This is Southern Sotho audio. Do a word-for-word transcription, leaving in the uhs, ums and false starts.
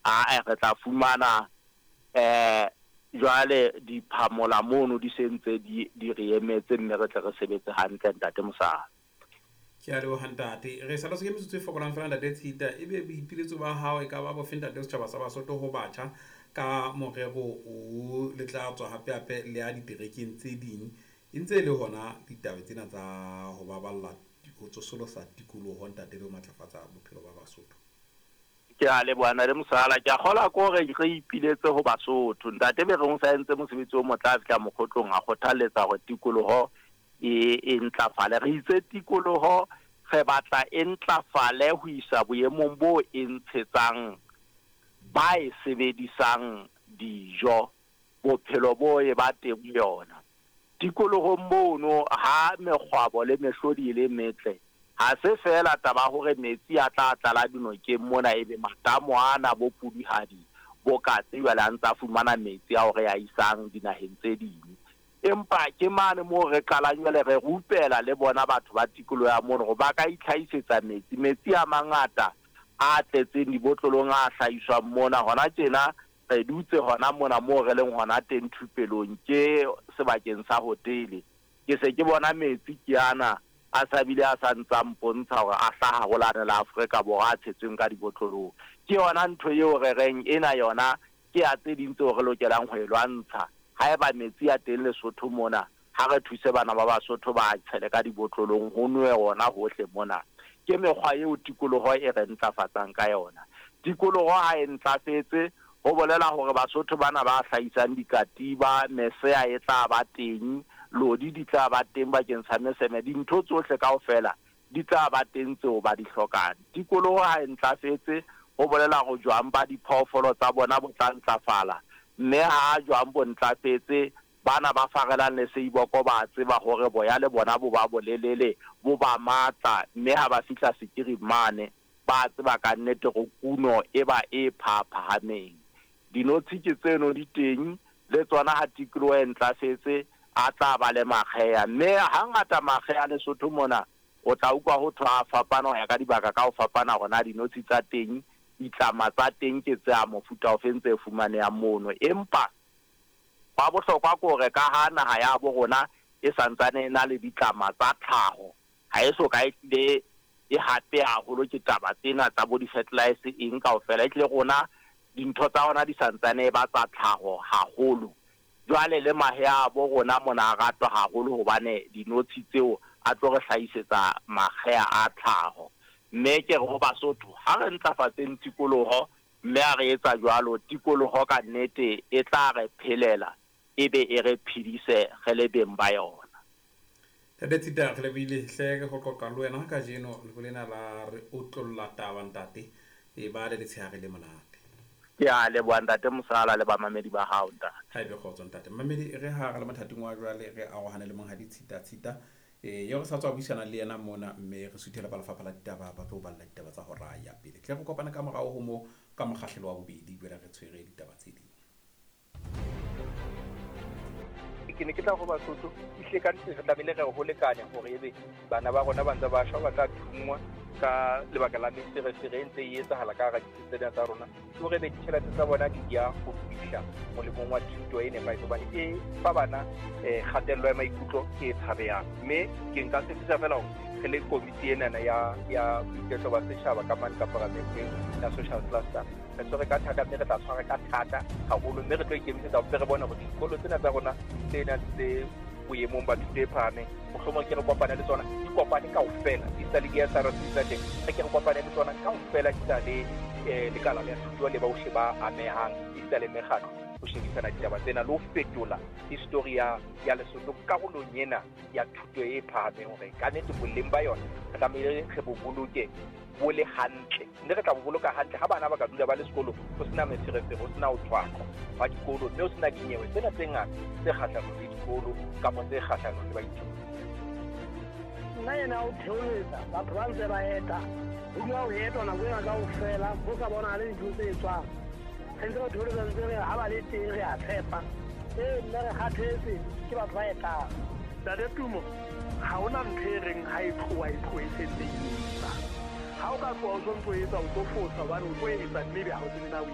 Ae, re tla fumana eh jwale diphamola mono di sentse di di re emetse, mme re tle re sebetse hantle, ntate Mosala. Ke a leboha, ntate. Re saletswe ke metsotso e fokolang fela, ntate Tshita. Ebe boipiletso ba hao e ka ba bofe, ntate, setjhaba sa Basotho ho batjha ka morero o le tla tswa hape hape le ya diterekeng tse ding, e ntse e le hona ditaba tsena tsa ho baballa, ho tsosolosa tikoloho, ntate, le ho matlafatsa bophelo ba Basotho? Ke a leboha, ntate Mosala. Ke a kgolwa ke hore re ipiletse ho Basotho. Ntate Bereng o sa entse mosebetsi o motle, a fihla mokgotlong a kgothalletsa hore tikoloho e e ntlafale. Re itse tikoloho re batla e ntlafale ho isa boemong bo e ntshetsang ba e sebedisang dijo, bophelo bo e ba teng yona tikolohong mono. Ha mekgwabo le mehlodi e le metle, ha se feela taba hore metsi a tla tlala dinokeng mona, ebe matamo ana bo Puduhadi, bo Katse jwale a ntsa fumana metsi ao re a isang dinaheng tse ding, empa ke mane moo re qalang jwale re rupela le bona batho ba tikoloho ya mono hore ba ka itlhahisetsa metsi. Metsi a mangata a tletseng dibotlolong a hlahiswang mona hona tjena, re dutse hona mona moo re leng hona teng thupelong, ke sebakeng sa hotele, ke se ke bona metsi ke ana a sa bile a sa ntsa mpontsha hore a hlaha ho lane la Afrika Borwa a tshetsweng ka dibotlolong. Ke yona ntho eo re reng ena yona ke ya tse ding tseo re lokelang ho e lwantsha. Haeba metsi a teng Lesotho mona, ha re thuse bana ba Basotho ba tshele ka dibotlolong, ho nwe ona hohle mona. Ke mekgwa eo tikoloho e re ntlafatsang ka yona. Tikoloho ha e ntlafetse, ho bolela hore Basotho bana ba hlahisang dikatiba, mesea e tla ba teng, lodi di tla ba teng bakeng sa meseme, dintho tsohle kaofela di tla ba teng tseo ba di hlokang. Tikoloho ha e ntlafetse, ho bolela hore jwang ba diphoofolo tsa bona bo tla ntlafala, mme ha jwang bo ntlafetse, bana ba farelang le seiboko ba tseba hore boya le bona bo ba bolelele, bo ba matla, mme ha ba fihla sekiring mane ba tseba ka nnete hore kuno e ba e phaphahameng. Dinotshi ke tseno di teng le tsona, ha tikoloho e ntlafetse a tla ba le makgeha, mme hangata makgeha Lesotho mona o tla utlwa ho thwa a fapana ho ya ka dibaka ka ho fapana, hore na dinotshi tsa teng, ditlama tsa teng ke tse a mofuta ofeng tse fumanehang mono. Empa wa bohlokwa ke hore ka ha naha ya bo rona e santsane e na le ditlama tsa tlhaho, ha e so ka e tlile e hape haholo ke taba tsena tsa bo di-fertilizer eng kaofela, e tlile rona dintho tsa rona di santsane e ba tsa tlhaho haholo. Jwale le mahe a bo rona mona a ratwa haholo hobane dinotshi tseo a tlo re hlahisetsa makgeha a tlhaho. Mme ke re ho Basotho, ha re ntlafatseng tikoloho, mme ha re etsa jwalo, tikoloho ka nnete e tla re phelela, ebe e re phedise re le beng ba yona. Ntate Tshita, re lebohile hle ho qoqa le wena kajeno ho lena la re otlolla taba, ntate. E ba le letshehare le monate. Ke a leboha, ntate Mosala, le bamamedi ba hao, ntate. Ha ebe kgotso, ntate. Mmamedi, re ha re le mothating wa jwale re arohane le monghadi Tshita Tshita e eo re sa tswa buisana le yena mona, mme re suthela ba lefapha la ditaba ba tlo balla ditaba tsa hora ya pele. Tle re kopane ka morao ho mo ka mokgahlelo wa bobedi, jwale re tshwere ditaba tse ding. Ke ne ke tla ho Basotho, ehlile ka nnete re tlamehile re ho lekane hore ebe bana ba rona ba ntse ba shwa, ba tla thunngwa ka lebaka la meferefere e ntse e etsahala ka hara ditsi tsena tsa rona, ke hore ebe ditjhelete tsa bona di ya ho fihla molemong wa thuto e nepahetseng, hobane e fa bana um kgatello ya maikutlo e tshabehang. Mme ke nka tshepisa fela hore re le komiti enana ya ya boiketlo ba setjhaba ka mane ka paramenteng ya social cluster, re tshwere ka thata, mme re tla tshwara ka thata haholo, mme re tlo ikemisetsa hore re bone hore dikolo tsena tsa rona tse nang tse boemong ba thuto e phahameng, mohlomong ke re kopane le tsona, di kopane kaofela, di sa le di-S R C tsa teng, re ke re kopane le tsona kaofela, di sa le um lekala la thuto le bohle ba amehang, di sa le mekgatlo, ho shebisana ditaba tsena le ho fetola history ya ya Lesotho karolong ena ya thuto e phahameng, hore ka nnete boleng ba yona re tlamehile re bo boloke bo le hantle, mme re tla bo boloka hantle ha bana ba ka dula ba le sekolo, ho sena meferefere, ho sena ho thwaqwa wa dikolo, mme ho sena dinyewe tsena tse ngata tse kgahlanong le dikolo kapa tse kgahlanong le baithuti. Nna ena o theoletsa batho ba ntse ba eta, ho dula ho etwa nako ena kaofela, ho sa bonahale dintho tse etswang. Re ntse re theoletsa, ntse re ha ba le teng re a tshepa. Ee, nna re kgathetse ke batho ba etang. Ntate Tumo, ha hona ntho e reng ha e tloha e tlohe e sentse e etsa. Ha o ka tloha o sontso etsa, o tlo fosa hobane o tlo etsa mme ebe ha o tsebe na o